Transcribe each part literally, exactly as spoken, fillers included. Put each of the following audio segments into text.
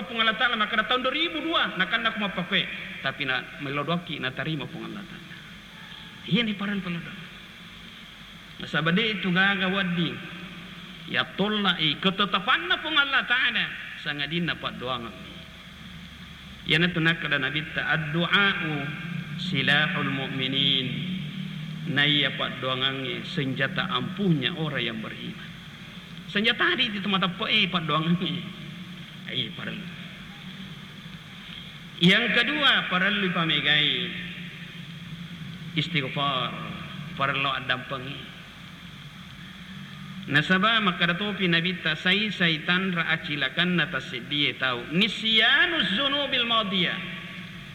Puang Allah Ta'ala makkeda taung dua ribu dua, nakanna ko mappakkue, tapi na mello doakki natarima Puang Allah Ta'ala. Iyani parellu pello doa. Nasaba de' tu gaga wedding yattollai ketetapanna Puang Allah Ta'ala, sangadinna paddoangemmi. Iyanatu nakkeda Nabitta, "Addu'a'u silahul mu'minin." Naiya paddoangangnge senjata ampuhnya orang yang beriman. Senjata ri itu mateppe'e paddoangangnge. Ai parellu. Yang kedua, parellu pamegai istighfar, parellu addampengi. Nasaba makkeda topi Nabitta, sai-sai tanra acilakanna tasseddie tau. Nisyanuz zunubil madiyah,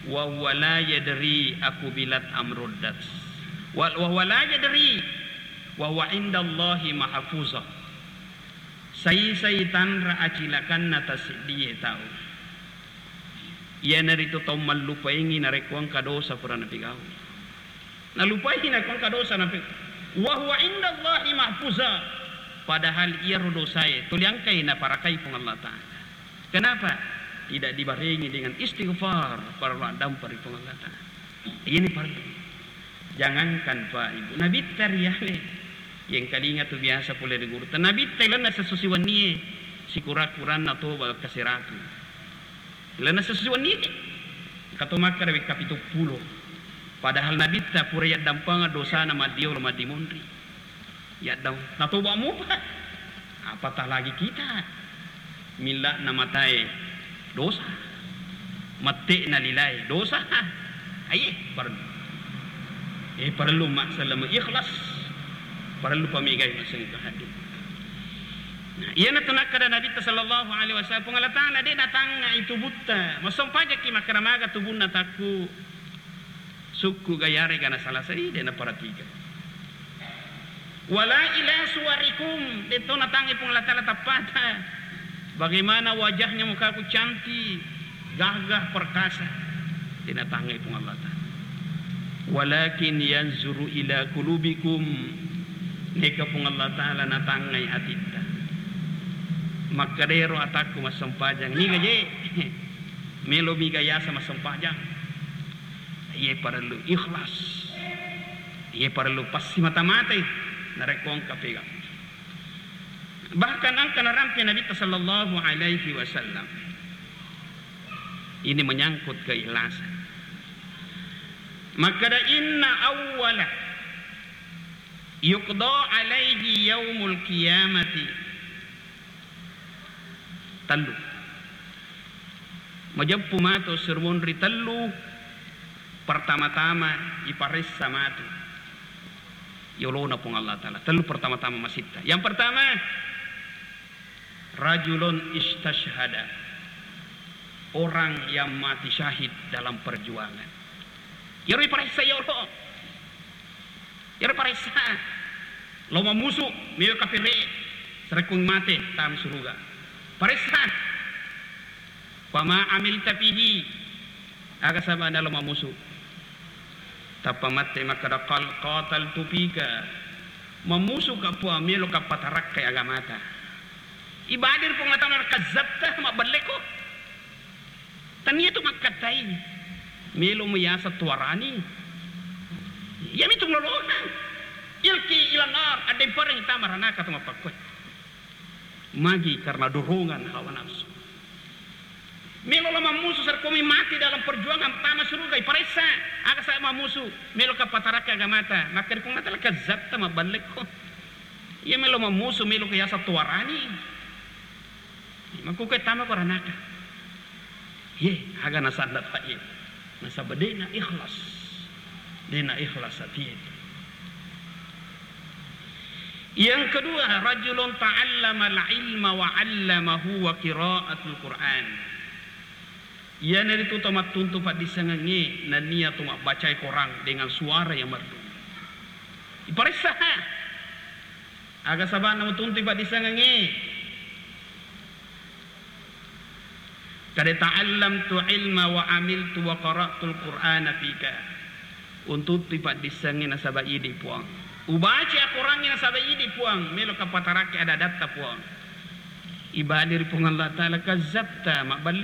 wa huwa la yadri akubilat am ruddat. Wa, wa huwa la yadri, wa huwa indallahi mahfuzah. Sai-sai tanra acilakanna tasseddie tau. Iyanaritu tau mallupaingi narekko engka dosa pura napigau. Nalupai narekko engka dosa nape-, wa huwa indallahi mahfuza. Padahal iyaro dosae tuli engkai naparakai Puang Allah Ta'ala. Kenapa? Tidak dibarengi dengan istighfar, parellu addampa ri Puang Allah Ta'ala. Ini parellu. Jangankan Pak Ibu, Nabitta riale. Yengkalinga tu biasa pole ri gurutta. Nabitta ilenna sesusi wennie, sikura-kuranna toba kasiratu. Lalenna sessuwenni engka to makkeda wekka pitu ppulo. Padahal Nabitta pura yaddampengeng dosana maddiolo maddimonri. Yaddam-, natoba mupa. Apatah lagi kita. Milla'na matae dosa. Mette'na lilae dosa. Aye, parellu. Eh, parellu masselleng ikhlas. Parellu pamegai masseng ke hati. Nah, iyanatu nakkeda Nabitta sallallahu alaihi wasallam, Puang Allah Ta'ala de' natangngai tubutta. Massempajaki makkeda maga tubunna takku sukku ga yarega nasalasai, de' naperhatikan. Wala ila suwarikum, de' to natangngai Puang Allah Ta'ala tappata. Bagaimana wajahnya, mukaku cantik, gagah, perkasa. De' natangngai Puang Allah Ta'ala. Walakin yanzuru ila qulubikum. Neka Puang Allah Ta'ala natangngai atitta. Makkedero atakku massempajang. Niga je? Melo miga yasa massempajang? Iye parellu ikhlas. Iye parellu passimata-matai. Narekko engka pega. Bahkan engka narampe Nabitta sallallahu alaihi wasallam. Ini menyangkut keikhlasan. Makkeda, "Inna awwala yuqda alaihi yaumul qiyamati." Tellu. Majeppu matu sirmunri tellu pertama-tama iparessa matu yolona Puang Allah Ta'ala. Tellu pertama-tama masitta. Yang pertama, rajulun istashhada, orang yang mati syahid dalam perjuangan. Iyaro iparessa yolo. Iyaro paressa. Lo mammusu, mewe kapere, sarekko mate, tama suruga. Paressa. Fama amilta fihi, aga sabana lo mammusu. Tappa mate makkeda, "Qal qataltu fika." Mammusuka Puang, meloka patarakkai agamata. Ibadir Puang Allah Ta'ala, kazzabta, mabbelleko. Tania tu makkattai. Melo meyasa tuarani. Yami tu melolongang. Ilki ilan nar, adempareng tama ranaka tu mappakkoi. Magi karena dorongan hawa nafsu. Melo lo mammusu, sarekkomi mati dalam perjuangan, tama suruga, iparessa. Aga sa mammusu, melo ka pataraka agamata. Maka di Puang Allah Ta'ala, kazzabta, maballekko. Iya melo mammusu, melo ka yasa tuarani. Makkuke tama ko ranaka. Ye, aga nasanda pa ye. Nasaba dena ikhlas. Dena ikhlas atie. Yang kedua, rajulun ta'allamal ilma wa 'allamahu wa qira'atul Qur'an. Iyanaritu to mattuntu paddissengengnge nennia to mabbacai Korang dengan suara yang merdu. Iparessaha. Aga saba'na mutuntu paddissengengnge? Kada ta'allamtu ilma wa amiltu wa qara'tul Qur'ana fika. Untuttui paddissengnge nasaba idi Puang. Ubaca Akorangnge nasaba idi Puang. Melo ka patarakki ada-adatta Puang. Ibali ri Puang Allah Ta'ala, kazzabta, mabballek